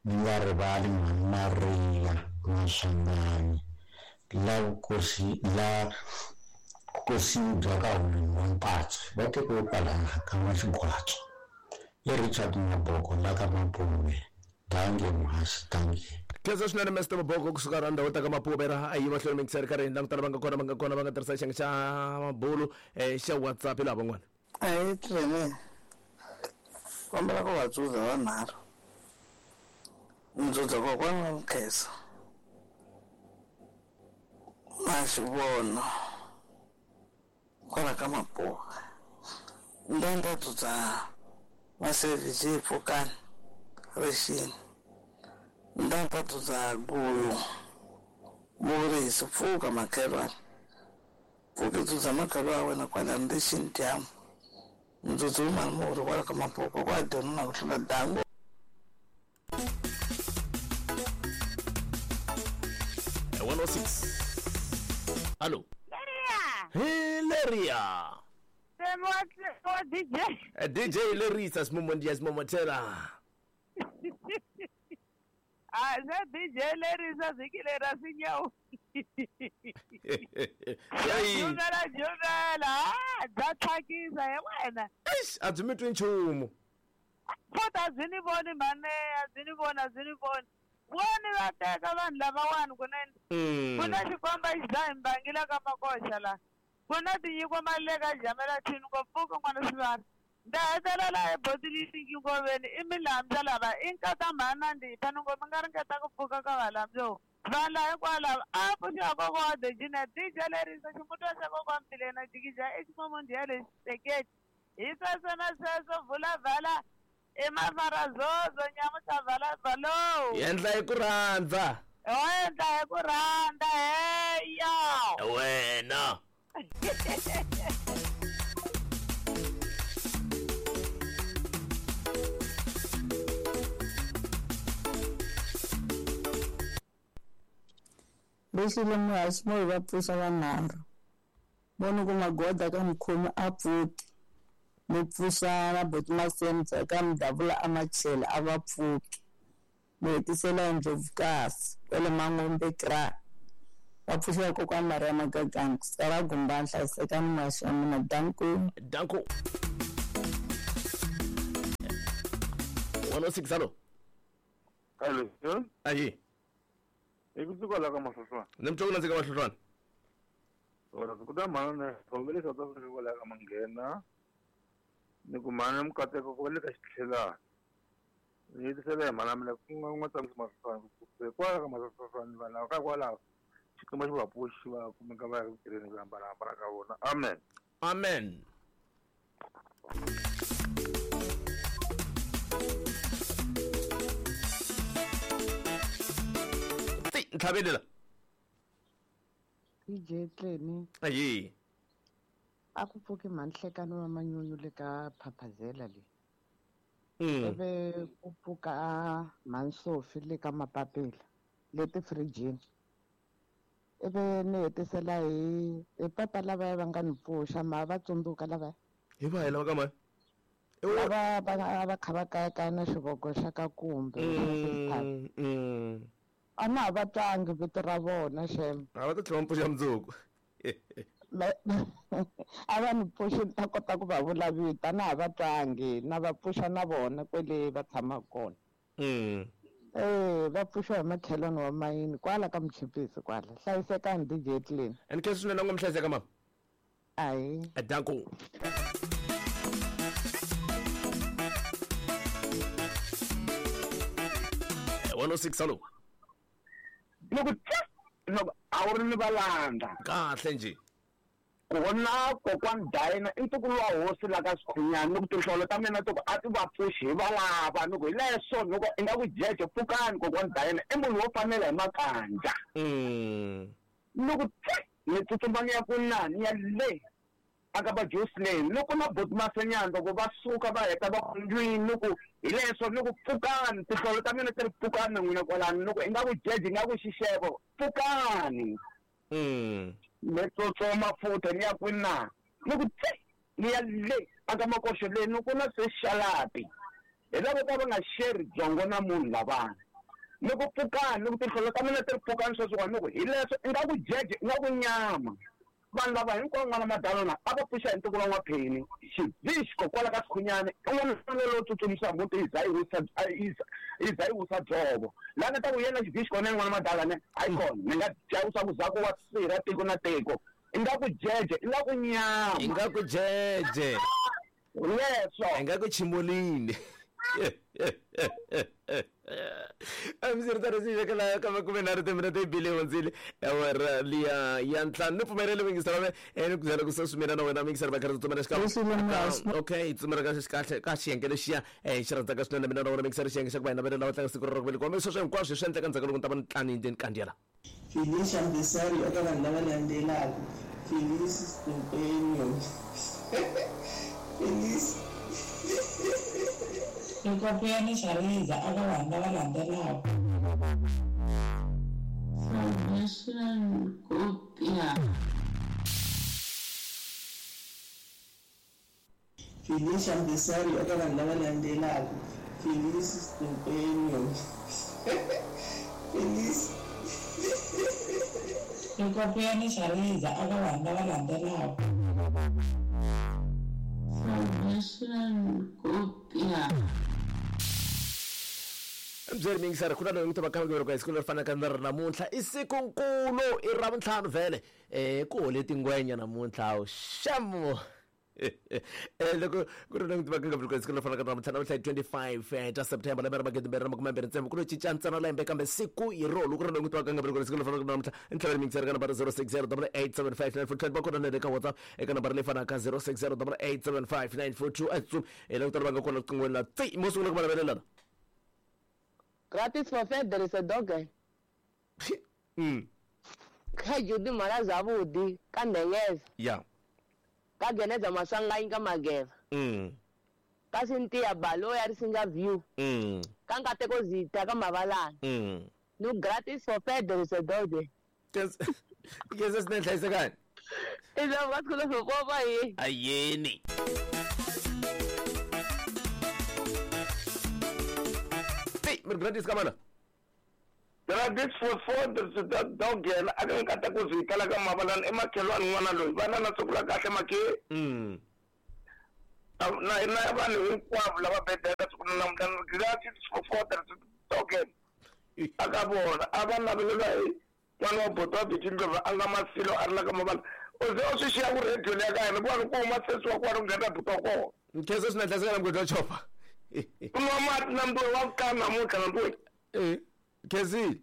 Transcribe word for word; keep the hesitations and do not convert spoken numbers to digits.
Ni nga rivali mhani Maria Maswanganyi la vukosi la vukosini bya ka Hungu wa Mpatswe va tekiwe kwalaya ka N'wa-Xigwatswa. I Richard Maboko la ka Mapuve. Dankie muhaxi, dankie. Khensa swinene Mister Maboko kusuka ra ndhawu ta ka Mapuve ra a yi mahlweni mingiseri karhi langutana va nga kona va nga kona va nga tirhisa xiyenge xa mabulu eh, xa WhatsApp hi laha van'wana. A hi tirheni kombela ku va dzudza vanharhu ndzudza kokwana wa Mkhesa na xivono kwala ka Mapuve ndanda dzudza Masevhi Pfukani rixini ndanda dzudza Gulu Murisi pfuka makhelwane pfuki dzudza makhelwane wa wena kwala ndixini dyambu ndzudza umani murhi kwala ka Mapuve kwa dyona na ku hlula dango. one oh six. Hello. Leria. Hey Leria. What D J? Uh, D J Lerisa Simomondia Simomotela. Ah, za D J Lerisa zikilera sinyau. Hey. Jumela jumela. Ah, bya tsakisa he wena. Eish, a byi mi twi nchumu. Futhi a byi ni voni mhani, a byi ni voni, a byi ni voni. Voni va teka vanhu lavawani kunene. Ku na xikomba xi dzaha mbangi la ka Makoxa la. Ku na tinyiko mali le ka Jamela Thini ngopfu n'wana swivari. Nda hetelela hi botili ngoveni i milambya lava i nkata mhani na ndipha ni ngo mi nga ringeta ku pfuka ka valambyo. Vanhu lava hinkwalava a pfuxiwa kokwa wa Dejina D J Lerisa ximutwa xa kokwa Mbilena jikija i ximomondiya lexi teketi. Hi sweswo na sweswo vula vala i mafarazozo nyamuhla vala valo. Endla hi ku rhandza. Endla hi ku rhandza heya. Wena. Lexi muhaxi mo hi va pfuxa vanharhu voni ku magoda ka mukhomi a pfuki mi pfuxa na boti Masemza ka Mdavula a Machela a va pfuki mi hetisela hi Ndlovukasi kwale Mangombe kra va pfuxa kokwana Maria Magagani sara Gumbani hlayisekani muhaxi wa mina danko danko. one oh six. Hello. Hello. Ayi. I kusuka la ka Mahlohlwana. Ni mtwa ku nandzika Mahlohlwana. Ora ku ta mhana khomele South Africa kwala ka Manghena. Ni ku mhana mukateko ku va le ka xitlhelana. Ni hetisela hi mhana mina ku nga nga tshamisi Mahlohlwana ku kwala ka Mahlohlwana vanhu lava ka kwalaho xikwembu xi va pfuxi va kumeka va ya ku tirheni ku hambanahambana ka vona. Amen. Amen. Ntlhavelela. D J Tleni. Ayi. A ku pfuki mhanhlekano wa manyunyu le ka Phaphazela le. Mm. Ivi ku pfuka mhansofi le ka Mapapela le tifirijini. Ivi ni hetisela hi hi papa lavaya va nga ni pfuxa ma va tsundzuka lavaya. Hi va hi lava ka mani? Lava va va kha va kayakaya na xivoko xa ka kumbe. Mm, mm. A na ha va twangi vito ra vona xem. A va ta tlhela va pfuxa mundzuku. A va ni pfuxi ni ta kota ku va vula vito a na ha va twangi na va pfuxa na vona kwele va tshamaka kona. Mm. Eh va pfuxiwa hi makhelwani wa mayini kwala ka Mchipisi kwala. Hlayisekani D J Tleni. And khensa swinene ngo mi hlayiseka mama. Ayi. Danko. one oh six. Hello. Loko loko a wu ri ni valanda kahle nje ku vona kokwana Dayina i ntukulu wa hosi la ka Sikhunyani ni ku tinhlolo ta mina ti ku a ti va pfuxi hi valava ni ku hi leswo ni ku i nga ku jeje pfukani kokwana Dayina i munhu wo fanela hi makanja. Ni ku ni tsutsuma ni ya ku na ni ya le aka va Jocelyn loko na boti Masenyana loko va suka va heta va ku ndlwini ni ku hi leswo ni ku pfukani tinhlolo ta mina ti ri pfukani na n'wina kwalano ni ku i nga ku jeje i nga ku xixevo pfukani. Ni tsutsuma futhi ni ya kwini na ni ku tsi ni ya le aka Makoxo le ni ku na se xalapi hi lavo ka va nga xeri byongo na munhu lavana. Ni ku pfukani ni ku tinhlolo ta mina ti ri pfukani sweswiwani ni ku hi leswo ingaku jeje ingaku nyama. Vanhu lava hinkwavo n'wana Madalona a va pfuxa hi ntukulu wa N'wapheni xivixko kwala ka Sikhunyani i n'wana lowo tsutsumisa muti yi za yi wisa yi za yi wisa dzovo laha nga ta ku yena xivixko na n'wana Madalane hayi kona ni nga chavisa ku zaku wa sirha tiko na tiko ingaku jeje ingaku nyama ingaku jeje leswo ingaku chimolini. Amsirtaro si kala kama kume na rete minete bile hundzile awara liya ya ntlhanu ni pfumerile mingisela me ene ku zela ku sasumela na wena mingisela bakara tsumela xika okay tsumela ka xikahle ka xiyenge lexiya eh xi rhandzaka swinene mina na wena mingisela xiyenge xa ku va hina vele lawa tlanga siku ra ku velekiwa sweswo hinkwaswo swi endleka ndzhaku loko ni ta va ni tlani ndzeni kandziyela Feliz aniversário eka vanhu lava landzelaka Feliz Impenyo Feliz Loko Xariza eka vanhu lava landzelaka Salvation Kopia Feliz aniversário eka vanhu lava landzelaka Feliz Impenyo Feliz Loko Xariza eka vanhu lava landzelaka Salvation Kopia Mbyeri mingisara kuna loyi n'wi tivaka ka siku leri fanaka na ri namuntlha i siku nkulu i ra vuntlhanu vhele um ku hole tingwenya namuntlha xamo loko ku ri loyi n'wi tivaka ka siku leri fanaka na namuntlha namuntlha hi twenty-five ta September lembe ra magidi mbirhi na makume mbirhi ntsevu ku lo cinca ntsena lembe kambe siku hi rolo ku ri loyi n'wi tivaka ka siku leri fanaka na namuntlha ntlhaveni mingisara ka nambara zero six zero double eight seven five nine four two va kona na le ka WhatsApp eka nambara leyi fanaka zero six zero double eight seven five nine four two a tsutsumi hi la ku tala va nga kona riqinghweni la tsi mo sungula ku va Gratis for fair, there is a dog. Mm. Ka Judy mara zavudi ka ndengeza. Yeah. Ka geneza masanga inga mageva. Mm. Ka Cynthia balo ya risinga view. Mm. Ka nkateko zita ka mavalana. Mm. No gratis for fair, there is a dog. Yes. Yes, yes, nhle Iza wakulo fofa yi. Ayeni. Gratis kamana Gratis for four that dog yena a nga kata ku zitala ka mavalana emakhelwani n'wana loyi vana na siku la kahle makhe mm na na vanhu hinkwavo lava bedela siku na namuntlha gratis for four that dog aka vona a va navelela hi n'wana wa boto wa Bitindlovu a nga masilo a ri la ka mavala u ze u swi xiya ku radio leya ka yena ku va ku huma sesi wa kwala ku nghena buti wa kona nkhensa swinene hlayiseka na mugodi wa chopa kunwa mati na mbuwe wa kukana namuntlha na mbuwe eh khensile